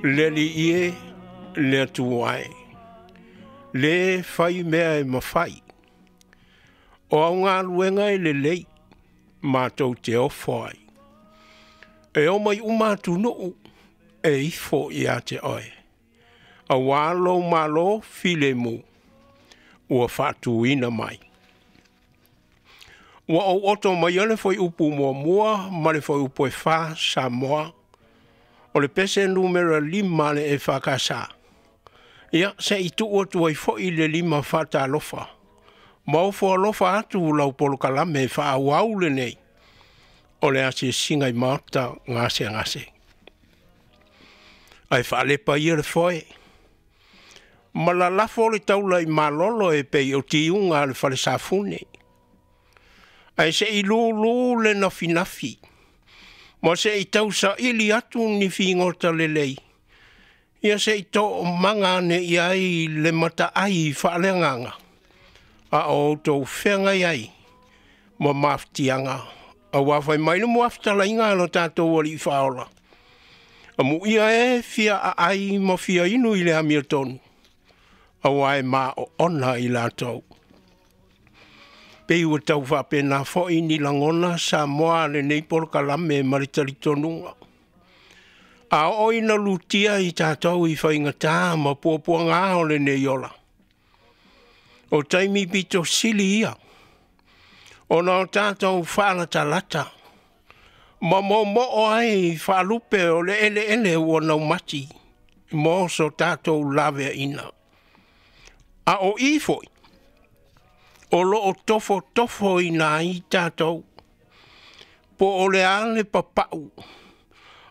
Le Alii e, le Atua e, lē fai mea e mafai, o au galuega e lelei, matou te ofo ai. E omai uma atunuu e ifo ia te oe, auā lou Malo filemu ua faatuina mai. Ua ou oto maia le fuaiupu 1 ma le fuaiupu 4 Samoa, o le pese numera 5 a le EFKS. Ia, se i tuu atu ai foi le lima faatalofa, ma ofo alofa atu lau polokalame faaauau lenei, o le asiasiga i maota gasegase. Ae faalepa ia le foe, ma lalafo le taula i malolo e pei o tiuga a le fale safune. Ae se i lūlū le nafinafi, ma se i tausaili atu ni figota lelei, ia se i toomaga ane i ai le mataai faaleagaga, a o outou feagai ai ma mafatiaga, auā fai mai le muafutalaiga a lo tatou Alii Faaola, amuia e fia aai ma fia inu i le amiotonu, auā e maoona i latou. Pei ua tau faapena foi ni lagona Samoa a lenei polokalame ma le talitonuga. A oo ina lutia i tatou i faigatā ma puapuagā o lenei ola, o taimi pito sili ia, ona o tatou faalatalata, ma momoo ai faalupe o le eleele ua naumati mo so tatou laveaiina. A o i foi, o loo tofotofoina ai tatou, po o le a le papau,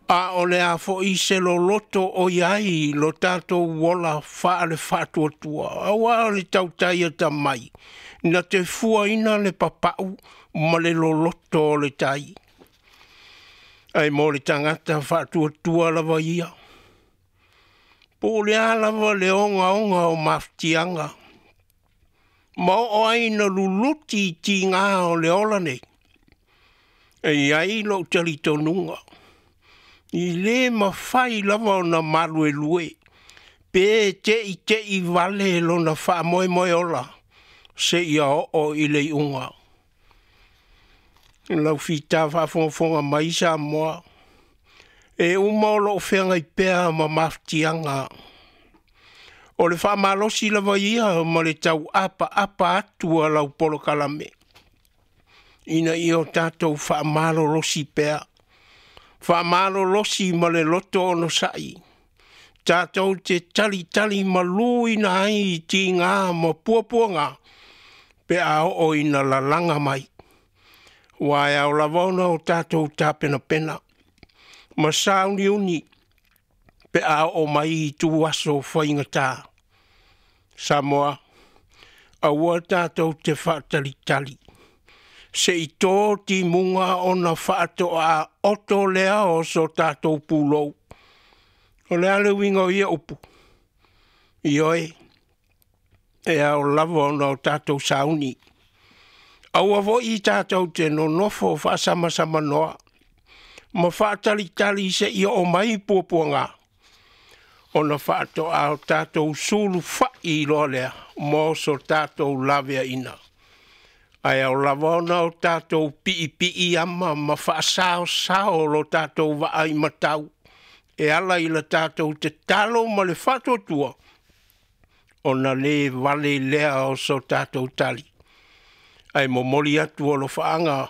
a o le a foi se loloto o i ai lo tatou ola faale faatuatua, auā o le tautai atamai, na te fuaina le papau ma le loloto o le tai. Ae mo le tagata faatuatua lava ia, po o le a lava le ogaoga o mafatiaga, ma oo ai na luluti i tigā o le ola nei, e i ai lou talitonuga, i lē mafai lava ona maluelue, pe teitei vale lona faamoemoe ola, seia oo i le iuga. Lau fita faafogafoga mai Samoa, e uma o loo feagai pea ma mafatiaga. O le faamalosi lava ia ma le tauapaapa atu a lau polokalame, ina ia o tatou faamalolosi pea, faamalolosi ma le loto onosai, tatou te talitali maluina ai i tigā ma puapuagā, pe a oo ina lalaga mai. Ua e ao lava ona o tatou tapenapena, ma sauniuni, pe a oo mai i ituaso faigatā. Samoa, aua tatou te faatalitali, se i tō timuga ona faatoa oto lea o so tatou pulou. O le a le uiga o ia upu? Ioe, e ao lava ona o tatou sauni. Aua foi tatou te nonofo faasamasamanoa, ma faatalitali seia oo mai puapuagā, ona faatoa o tatou sulufai loa lea mo so tatou laveaiina. Ae ao lava ona o tatou piipiiama ma faasaosao lo tatou vaai matau, e ala i la tatou tatalo ma le faatuatua, ona lē vale lea o so tatou tali. Ae momoli atu alofaaga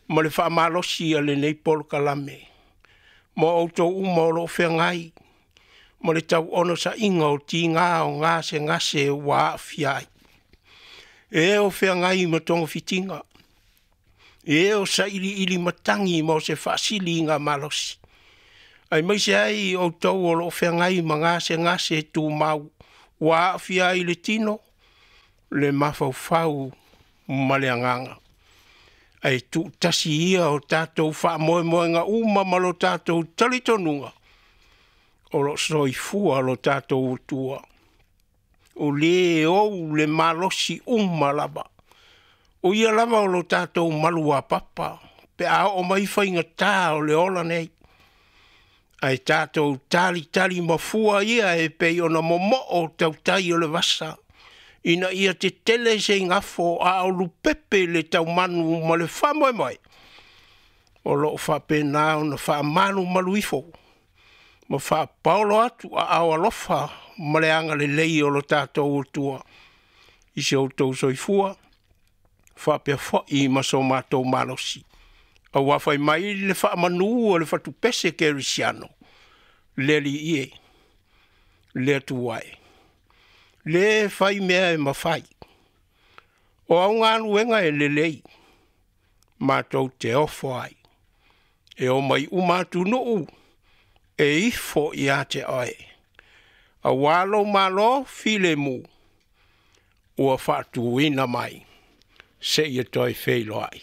ma le faamalosi a lenei polokalame, ma outou uma o loo feagai ma le tauonosaiga o tigā o gasegase ua aafia ai. E o feagai ma togafitiga, e o sailiili matagi mo se faasiliga malosi, aemaise ai outou o loo feagai ma gasegase tumau ua aafia ai le tino, le mafaufau ma le agaga. Ae tuutasi ia o tatou faamoemoega uma ma lo tatou talitonuga, o loo soifua lo tatou Atua. O lē ou le malosi uma lava, o ia lava o lo tatou maluapapa, pe a oo mai faigatā o le ola nei. Ae tatou talitali mafua ia e pei ona momoo tautai o le vasa, ina ia tetele se igafo a o lupepe le taumanu ma le faamoemoe, o lo o faapena ona faamalumalu ifo ma faapaolo atu aao alofa ma le agalelei o lo tatou Atua i si outou soifua faapea foi ma so matou malosi. Aua fai mai le faamanu o le fatupese kerisiano, le Alii e, le Atua e, le fai mea e mafai, o au galuega e lelei, matou te ofo ai, e omai uma atunuu e ifo ia te oe, auā lou Malo filemu ua faatuina mai seia toe feiloai.